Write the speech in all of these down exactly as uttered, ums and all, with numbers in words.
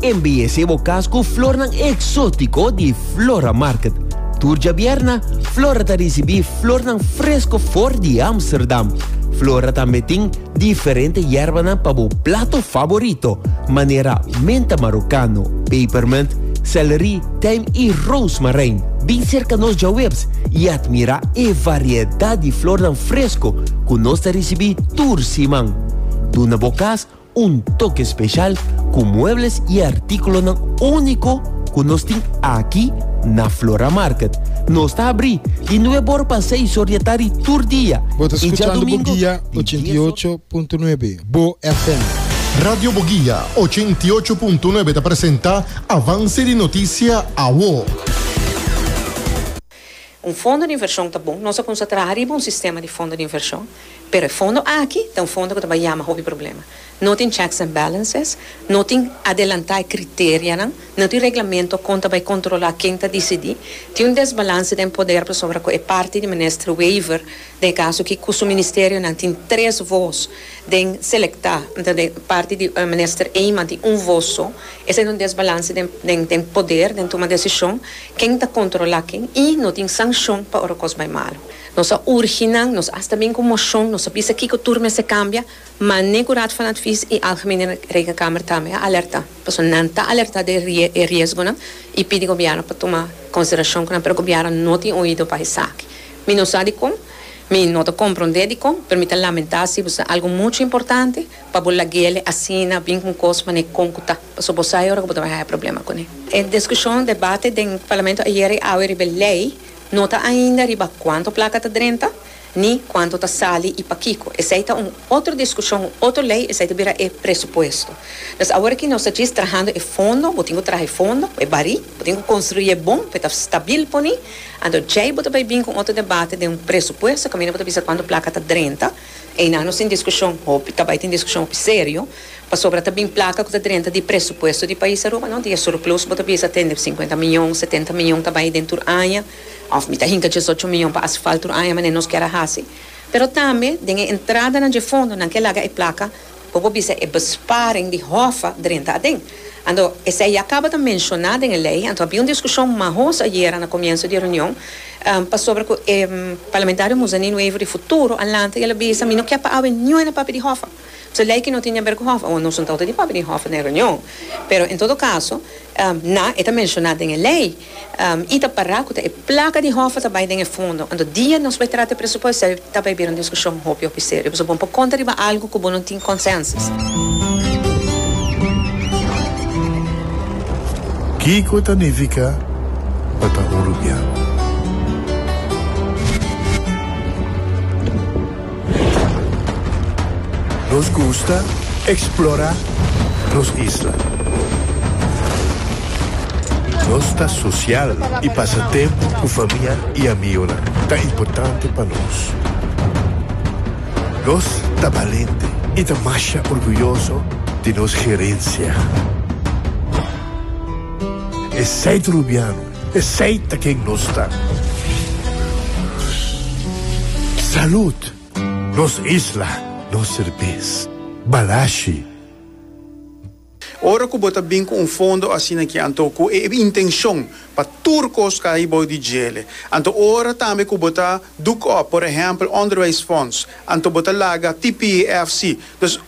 Embeyesé bo kas ku flornan eksótiko di Flora Market. Tur djabierna, Flora ta risibí flornan fresku for di Amsterdam. Flora tambe tin diferente yerbanan pa bo plato favorito, manera menta marokano, pepermunt, celery, tijm i rozemarijn. Bin serka nos djaweps i atmirá e variedat di flornan fresku ku nos ta risibí tur siman. Duna bo kas un toke spesial ku muebles i artíkulonan úniko ku nos tin aki na Flora Market. Nos ta habrí di nuebe or pa seis or di atardi tur dia. Bo ta I skuchando djadumingu Boguia di ochenta i ocho punto nuebe, Bo F M. Radio Boguia ochenta i ocho punto nuebe ta presentá Avance di Notisia Awo. Un fondo di invershon ta bon, nos a konsentrá riba un sistema di fondo di invershon, pero e fondo aki ta un fondo ku ta bai yama hopi problema. No tin checks and balances, no tin adelantá kriterionan, no tin reglamento kon ta bai kontrolá ken ta disidí. Tin un desbalanse di poder pasobra e parti di minister Wever, den kaso ku e ministerionan tin tres vos den selektá, anto e parti di eh, minister Eman tin un vos so. Esei ta un desbalanse di, di, di poder, den tuma desishon, ken ta kontrolá ken, i no tin sanshon pa ora kos bai malu. Nos a urgi nan, nos asta bin ku moshon, nos a bisa kiko tur mester kambia, ma ne ku Raad van Advies i Algemene Rekenkamer tambe a alerta. Pasobra nan ta alerta di e riesgonan i pidi gobièrnu pa tuma konsiderashon ku nan, pero gobièrnu no tin oido pa esaki. Mi no sa kon, mi no ta komprondé di kon, pero mi ta lamentá si ta algu mucho importante pa bo lag'é asina bin ku kos manera kon ku ta. Pasobra bo sa ora ku bo ta bai problema kuné. E diskushon, debate den parlamento ayera i awe riba lei, no ta ainda riba kuantu plaka ta drenta, ni kuantu ta sali i pakiko. Esei ta un otro diskushon, otro lei, esei ta bira e presupuesto. Dus awor ku nos ta trahando e fondo, bo tin ku traha fondo, e barí, bo tin ku konstruí bon, pa ta stabil poni, anto ya bo ta bai bin ku otro debate di un presupuesto, kaminda bo ta bisa kuantu plaka ta drenta, i nos tin diskushon, hopi, tambe tin diskushon serio, pasobra tambe plaka ku ta drenta di presupuesto di pais Aruba, no? Di surplus, bo ta bisa tin sinkuenta mion, setenta mion tambe den aña, òf mi ta hinka diesocho mion pa asfalto aña, ma nos ke hasi. Pero tambe, den entradanan di fondo, nan ke laga e plaka, bo bisa e besparing di HOFA drenta aden. Anto, esei a kaba di menshoná den lei, anto tabatin un diskushon mahos ayera na komienso di reunion, um, pasobra ku e um, parlamentario Muzanino Wever di Futuro, a lanta, el a bisa, mi no ke pa awe niun papia di HOFA. So lei ku no tin di aber ku HOFA, òf nos no ta di papia di HOFA na reunion. Pero en todo kaso, um, na e ta menshoná den lei, um, i ta para ku e plaka di HOFA tambe den fondo. Anto dia nos bai trata presupuesto, tambe bira un diskushon hopi hopi serio. So bo konta riba algu ku no tin consensus. Kiko ta nifiká pa ta un rubiano? Nos gusta eksplorá nos isla. Nos ta sosial i pasa tempu ku famia i amigu. Ta importante pa nos. Nos ta balente i ta mas orguyoso di nos herensia. Esei ta rubiano, esei ta ken nos ta. Salud, nos isla, nos serbes, Balashi. Ora ku bo ta bin ku un fondo asina aki, anto ku e intenshon pa tur kos kai bou di dje. Anto ora tambe ku bo ta doek op, por ehèmpel, onderwijsfonds, anto bo ta laga T P F C. Dus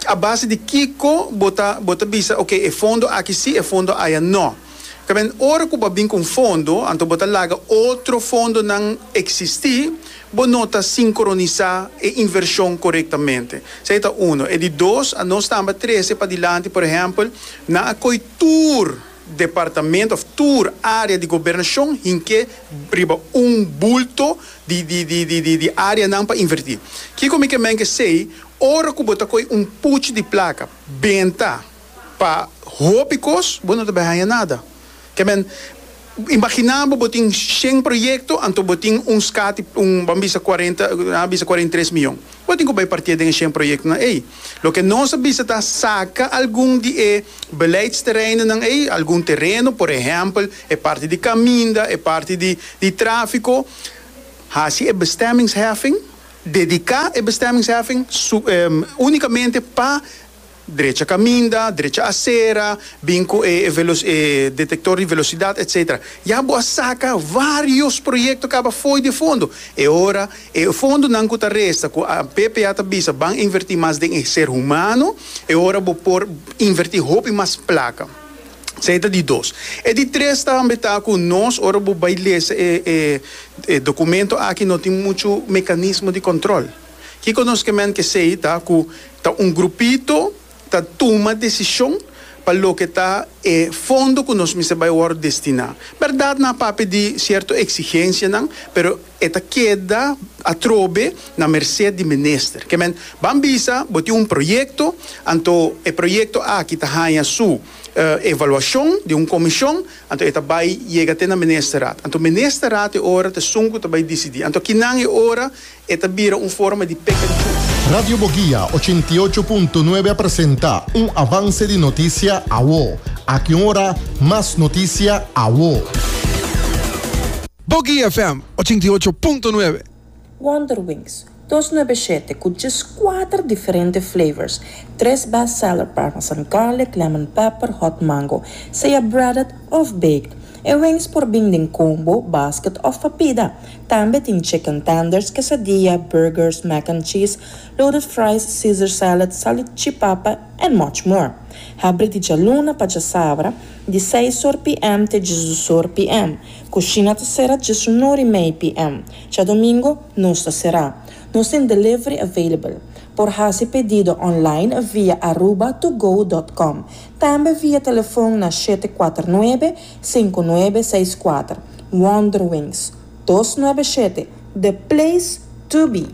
a base di kiko bo ta bo ta bisa, ok, e fondo aki si, e fondo aya no. Tamen ora ku bo bin ku fondo, anto bo ta laga otro fondonan eksistí, bo no ta sinkronisá e invershon korektamente. Esei ta un. E di dos, nos tambe a trese padilanti, por ehèmpel, nan a koi tur departamento òf tur área di gobernashon hink'é riba un bulto di di di di di, di áreanan pa invertí. Kiko mi ke men ku esei, ora ku bo ta koi un puchi di plaka, benta pa hopi kos, bo no ta bai nada. Ke men, imaginá bo tin shen proyekto, anto bo tin un skat, un, ban bisa kuarenta, ah, bisa kuarenta i tres mion. Bo tin ku bai parti den shen proyektonan ei. Loke nos a bisa ta saka algun di e beleidsterreinennan ei, algun tereno, por ehèmpel, e parti di kaminda, e parti di, di tráfiko, hasi e bestemmingsheffing, dediká e bestemmingsheffing su, um, únikamente pa Drecha kaminda, drecha asera, bin ku e, e, detektor di velosidat, et cetera. Ya bo a saka vários proyekto kaba fo'i di fondo. E ora, e fondonan ku ta resta, ku a P P A ta bisa, ban invertí mas den ser humano, e ora bo por invertí hopi mas plaka. Esei ta di dos. E di tres tambe ta ku nos, ora bo bai lesa e, e, e dokumento aki, no tin muchu mekanismo di kontròl. Kiko nos ke men ku esei ta ku ta un grupito ta tuma desishon pa loke ta e fondo ku nos mester bai wòrdu destiná. Berdat, nan a papia di sierto eksigensianan, pero e ta keda atrobe na merset di minister. Ke men, ban bisa, bo tin un proyekto, anto e proyekto aki ta haña su uh, evaluashon di un komishon, anto e ta bai yega te na ministerraad. Anto ministerraad e ora ta esun ku ta bai disidí. Anto akinan e ora e ta bira un forma di pick and choose. Radio Boguia ochenta i ocho punto nuebe presenta un avance di noticia awo. Aki ora, mas noticia awo. Boguia F M ochenta i ocho punto nuebe. Wonder Wings, dos nuebe shete ku just kuater diferente flavors. Tres bestseller: parmesan garlic, lemon pepper, hot mango. Sea breaded of baked. E wings por bin den combo, basket of pa pida. Tambe tin chicken tenders, quesadilla, burgers, mac and cheese, loaded fries, Caesar salad, salchipapa and much more. Habri di djaluna pa djasabra, di seis or P M te diesdos or P M. Kushina ta sera diesun or i mei P M. Djadumingu no ta sera. Nos tin delivery available. Por hasi pedido online via aruba to go punto com. Tambe via telefon na shete kuater nuebe, sinku nuebe seis kuater. Wonder Wings, dos nuebe shete, the place to be.